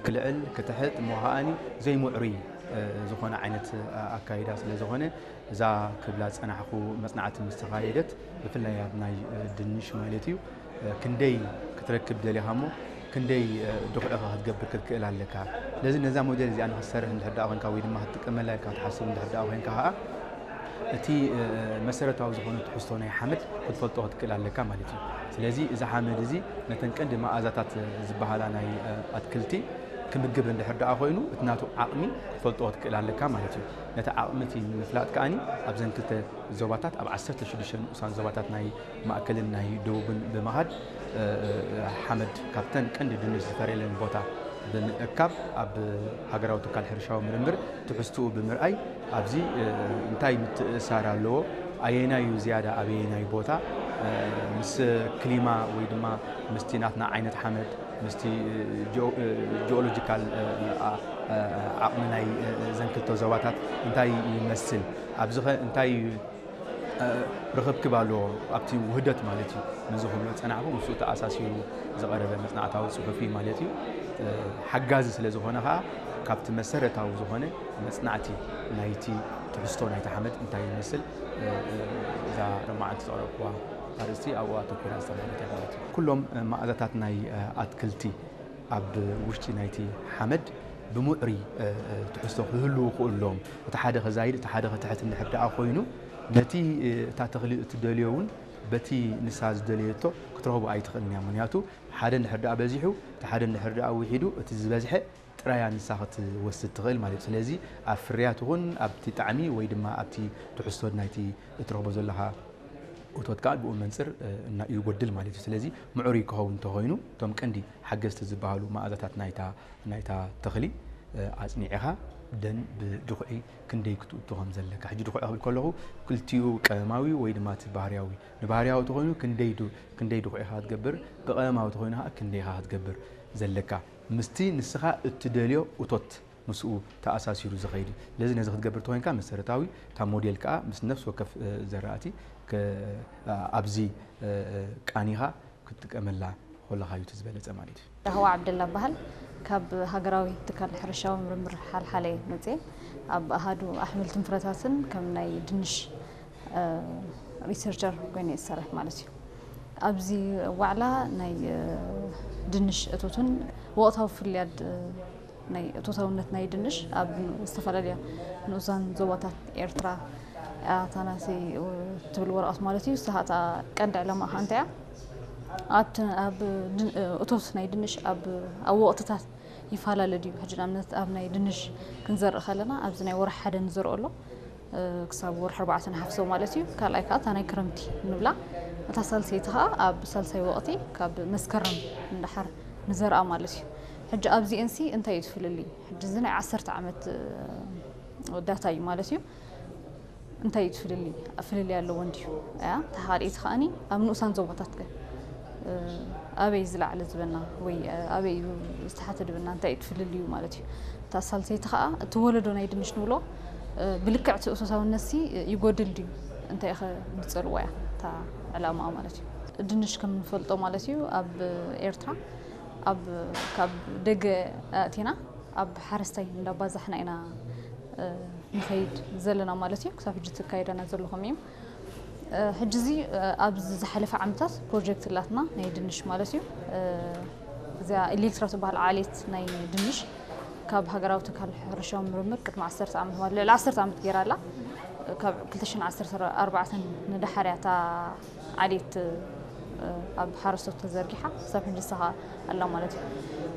ክልዕል ክትሕጥ እሞ ከኣኒ ዘይምዕሩይ ዝኾነ ዓይነት ኣካይዳ ስለ ዝኾነ እዛ ክብላ ዝጸናሕኩ መጽናዕቲ ምስ ተኻየደት ብፍላይ ኣብ ናይ ድንሽ ማለት እዩ ክንደይ ክትረክብ ደሊኻ እሞ ክንደይ ድኹዒኻ ክትገብር ክትክእል ኣለካ። ስለዚ ነዛ ሞዴል እዚኣ ንክትሰርሕ እንድሕር ደኣ ኮንካ ወይ ድማ ክትጥቀመላ ኢልካ ትሓስብ እንድሕር ደኣ ኮንካ ከዓ እቲ መሰረታዊ ዝኾነ ትሕዝቶ ናይ ሓመድ ክትፈልጦ ክትክእል ኣለካ ማለት እዩ። ስለዚ እዚ ሓመድ እዚ ነተን ቀንዲ መኣዛታት ዝበሃላ ናይ ኣትክልቲ ክምግብ እንድሕር ደኣ ኮይኑ እቲ ናቱ ዓቕሚ ክትፈልጦ ክትክእል ኣለካ ማለት እዩ። ነቲ ዓቕሚ እቲ ንምፍላጥ ከኣኒ ኣብዘን ክልተ ዞባታት ኣብ ዓሰርተ ሽዱሽተ ንኡሳን ዞባታት ናይ ማእከልን ናይ ደቡብን ብምኻድ ሓመድ ካብተን ቀንዲ ድንሽ ዝፈርየለን ቦታ ብምእካብ ኣብ ሃገራዊ ትካል ሕርሻዊ ምርምር ትሕዝትኡ ብምርኣይ ኣብዚ እንታይ ምትእሳር ኣለዎ፣ ኣየናይ እዩ ዝያዳ ኣበየናይ ቦታ ምስ ክሊማ ወይ ድማ ምስቲ ናትና ዓይነት ሓመድ ምስቲ ጂኦሎጂካል ዓቕሚ ናይ ዘን ክልተ ዞባታት እንታይ ይመስል፣ ኣብዚ ኸ እንታይ ርኽብክብ ኣለዎ ኣብቲ ውህደት ማለት እዩ። ነዚ ክብሎ ዝጸናሕኩ ምስኡ ተኣሳሲሩ ዝቐረበ መጽናዕታዊ ጽሑፍ እዩ ማለት እዩ። ሓጋዚ ስለ ዝኾነ ኸኣ ካብቲ መሰረታዊ ዝኾነ መጽናዕቲ ናይቲ ትሕዝቶ ናይቲ ሓመድ እንታይ ይመስል እዛ ሎማዓንቲ ዘቕረብኩዋ ኣርእስቲ ኣብኡ ኣተኲራ ዝተማህረት እያ ማለት እዩ። ኩሎም መኣዛታት ናይ ኣትክልቲ ኣብ ውሽጢ ናይቲ ሓመድ ብምዕሩይ ትሕዝቶ ክህልዉ ክእሉ ኣለዎም። እቲ ሓደ ከዛይድ እቲ ሓደ ክትሕት እንድሕር ደኣ ኮይኑ ነቲ እታ ተኽሊ እትደልዮ እውን በቲ ንሳ ዝደለየቶ ክትረኽቦ ኣይትኽእልን እያ። ምክንያቱ ሓደ እንድሕር ደኣ በዚሑ እቲ ሓደ እንድሕር ደኣ ውሒዱ እቲ ዝበዝሐ ጥራያ ንሳ ክትወስድ ትኽእል ማለት እዩ። ስለዚ ኣብ ፍርያት ይኹን ኣብቲ ጣዕሚ ወይ ድማ ኣብቲ ትሕዝቶ ናይቲ እትረኽቦ ዘለኻ እቶት ከዓ ብኡ መንፅር ይጎድል ማለት እዩ። ስለዚ ምዕሩይ ክኸውን እንተኾይኑ እቶም ቀንዲ ሓገዝቲ ዝበሃሉ መኣዛታት ናይታ ናይታ ተኽሊ ኣፅኒዕኻ ደን ብድኹዒ ክንደይ ክትእቱ ከም ዘለካ ሕጂ ድኹዒ ክብል ከለኹ ክልቲኡ ቀመማዊ ወይ ድማ እቲ ባህርያዊ ንባህርያዊ ተኾይኑ ክንደይ ድኹዒ ኢኻ ክትገብር ብቀመማዊ ተኾይኑ ከዓ ክንደይ ኢኻ ክትገብር ዘለካ ምስቲ ንስኻ እትደልዮ እቶት ምስኡ ተኣሳሲሩ ዝኸይድ እዩ። ስለዚ ነዚ ክትገብር ተኾይንካ መሰረታዊ እታ ሞዴል ከዓ ምስ ነፍሲ ወከፍ ዘራእቲ ኣብዚ ቃኒኻ ክትጥቀመላ ከለኻ እዩ እቲ ዝበለፀ ማለት እዩ። ራህዋ ዓብደላ በሃል ካብ ሃገራዊ ትካል ሕርሻዊ ምርምር ሓልሓለ መፅየ ኣብ ኣሃዱ ኣሕምልትን ፍረታትን ከም ናይ ድንሽ ሪሰርቸር ኮይነ ዝሰርሕ ማለት እዩ። ኣብዚ ዋዕላ ናይ ድንሽ እቶትን ወቕታዊ ፍልያት ናይ እቶታውነት ናይ ድንሽ ኣብ ዝተፈላለዩ ንኡሳን ዞባታት ኤርትራ እያ እታ ናተይ ትብል ወረቐት ማለት እዩ። ንሳ እታ ቀንዲ ዕላማ ከዓ እንታይ እያ? ኣብቲ ኣብ እቶት ናይ ድንሽ ኣብ ኣብ ወቕትታት ይፈላለ ድዩ? ሕጂ ንኣብነት ኣብ ናይ ድንሽ ክንዘርእ ከለና ኣብዚ ናይ ወርሒ ሓደ ንዘርኦ ኣሎ ክሳብ ወርሒ ኣርባዕተ ንሓፍሶ ማለት እዩ። ካልኣይ ከዓ እታ ናይ ክረምቲ ንብላ እታ ሳልሰይቲ ከዓ ኣብ ሳልሳይ ወቕቲ ካብ መስከረም ንደሓር ንዘርኣ ማለት እዩ። ሕጂ ኣብዚኤንሲ እንታይ እዩ ትፍልልይ? ሕጂ እዚ ናይ ዓሰርተ ዓመት ዳታ እዩ ማለት እዩ። እንታይ እዩ ትፍልልይ? ፍልልይ ኣለዎ እንድዩ እያ። ተሓሪእቲ ከኣኒ ኣብ ንኡሳን ዞባታት ከ ኣበይ ዝለዓለ ዝበና ወይ ኣበይ ዝተሓተ ድብና እንታይ እዩ ትፍልልዩ ማለት እዩ። እታ ሳልሰይቲ ከዓ እቲ ወለዶ ናይ ድንሽ ንብሎ ብልክዕ እቲ እቶታውነት ሲ ይጎድል ድዩ እንታይ ኢኸ ንፀልዋ እያ እታ ዕላማ ማለት እዩ። ድንሽ ከም ንፈልጦ ማለት እዩ ኣብ ኤርትራ ኣብ ካብ ደገ ኣእቲና ኣብ ሓረስታይ እንዳባዛሕና ኢና ንኸይድ ዘለና ማለት እዩ። ክሳብ ሕጂ ትካየደና ዘለኹም እዩ። ሕጂ እዚ ኣብዚ ዝሓለፈ ዓመታት ፕሮጀክት ላትና ናይ ድንሽ ማለት እዩ። እዚኣ ኤሌክትራ ትበሃል ዓሌት ናይ ድንሽ ካብ ሃገራዊ ትካል ሕርሻዊ ምርምር ቅድሚ ዓሰርተ ዓመት ማለት ልዕሊ ዓሰርተ ዓመት ገይራ ኣላ። ካብ ክልተ ሽሕን ዓሰርተ ኣርባዕተን ንደሓር እያ እታ ዓሌት ኣብ ሓረስቶት ተዘርጊሓ ክሳብ ሕጂ ንሳ ኸኣ ኣላ ማለት እዩ።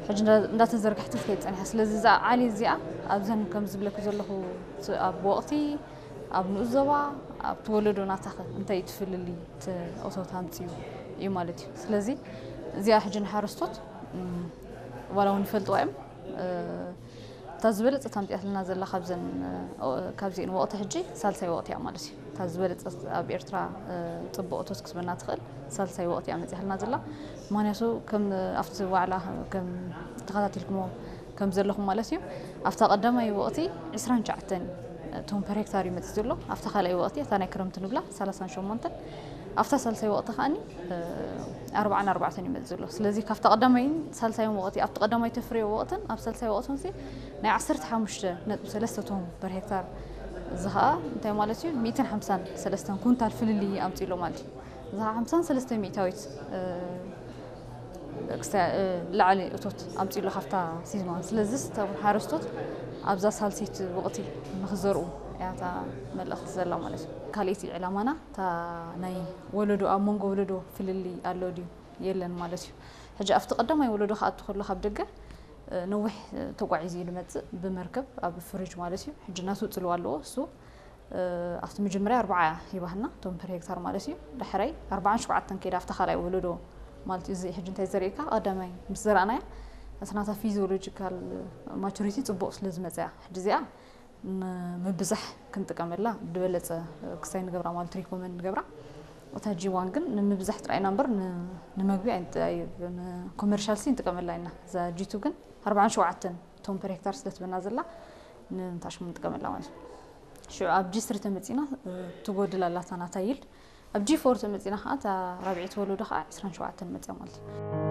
ሕጂ እንዳተዘርግሐት ትከይድ ጸኒሓ። ስለዚ እዛ ዓሌት እዚኣ ኣብዘን ከም ዝብለኪ ዘለኹ ኣብ ወቕቲ ኣብ ንኡስ ዞባ ኣብቲ ወለዶ ናታኸ እንታይ እዩ ትፍልልይ እቲ እቶት ኣምፅኡ እዩ ማለት እዩ። ስለዚ እዚኣ ሕጂ ንሓረስቶት ዋላ እውን ይፈልጥዋ እዮም እታ ዝበለፀት ኣምፂኣትልና ዘላ ካብዘን ካብዚአን ወቕቲ ሕጂ ሳልሳይ ወቕቲ እያ ማለት እዩ። እታ ዝበለፀት ኣብ ኤርትራ ፅቡቕ እቶት ክትበና ትኽእል ሳልሳይ ወቕቲ እያ መፂኣልና ዘላ። ምክንያቱ ከም ኣብቲ ዋዕላ ከም ተኸታቲልኩሞ ከም ዘለኹም ማለት እዩ። ኣብታ ቀዳማይ ወቕቲ ዕስራን ትሽዓተን ቶን ፐር ሄክታር እዩ መፂእ ዘሎ። ኣብታ ካልኣይ ወቕቲ እታ ናይ ክረምቲ ንብላ ሰላሳን ሸሞንተን ኣብታ ሳልሳይ ወቕቲ ከዓኒ ኣርባዓን ኣርባዕተን ይመጽእ ዘሎ። ስለዚ ካብታ ቀዳማይን ሳልሳይን ወቕቲ ኣብቲ ቀዳማይ ተፍርዮ ወቕትን ኣብ ሳልሳይ ወቕትን እዚ ናይ ዓሰርተ ሓሙሽተ ነጥቢ ሰለስተ ቶም ፐር ሄክታር፣ እዚ ከዓ እንታይ ማለት እዩ? ሚእትን ሓምሳን ሰለስተን ኩንታል ፍልልይ ኣምፅእ ኣሎ ማለት እዩ። እዚ ከዓ ሓምሳን ሰለስተ ሚእታዊት ላዕሊ እቶት ኣምፅእ ኣሎ ካብታ ሲዝማን። ስለዚ እቶም ሓረስቶት ኣብዛ ሳልሰይቲ ወቕቲ ንክዘርኡ እያ እታ መልእኽቲ ዘላ ማለት እዩ። ካልኣይቲ ዕላማና እታ ናይ ወለዶ፣ ኣብ መንጎ ወለዶ ፍልልይ ኣሎ ድዩ የለን ማለት እዩ። ሕጂ ኣብቲ ቀዳማይ ወለዶ ክኣቱ ከሎ ካብ ደገ ነዊሕ ተጓዒዙ እዩ ዝመፅእ ብመርከብ ኣብ ፍሪጅ ማለት እዩ። ሕጂ ናቱ ፅልዋ ኣለዎ እሱ። ኣብቲ መጀመርያ ኣርባዓ ሂባህና እቶም ፐር ሄክታር ማለት እዩ። ዳሕራይ ኣርባዓን ሸውዓተን ከይዳ ኣብቲ ካልኣይ ወለዶ ማለት እዩ። እዚ ሕጂ እንታይ ዘርእየካ ቀዳማይ ምስ ዘራእናያ እታ ናታ ፊዚዮሎጂካል ማቹሪቲ ፅቡቕ ስለ ዝመፅያ ሕጂ እዚኣ ንምብዛሕ ክንጥቀመላ ዝበለፀ ክሳይ ንገብራ ማለት ሪኮመንድ ንገብራ። እታ ጂ ዋን ግን ንምብዛሕ ጥራይ ኢና እምበር ን- ንመግቢ ኣይንጥ- ኣይ- ንኮመርሻል ሲ ንጥቀመላ ኢና። እዛ ጂ ቱ ግን ኣርባዓን ሸውዓተን ቶም ፐር ሄክታር ስለ ትበና ዘላ ንታሽሙ ንጥቀመላ ማለት እዩ። ሽዑ ኣብ ጂ ስሪ ተመፂና ትጎድል ኣላታ ናታ ይልድ። ኣብ ጂ ፎር ተመፂና ከዓ እታ ራብዒት ወለዶ ከዓ ዕስራን ሸውዓተን መፅያ ማለት እዩ።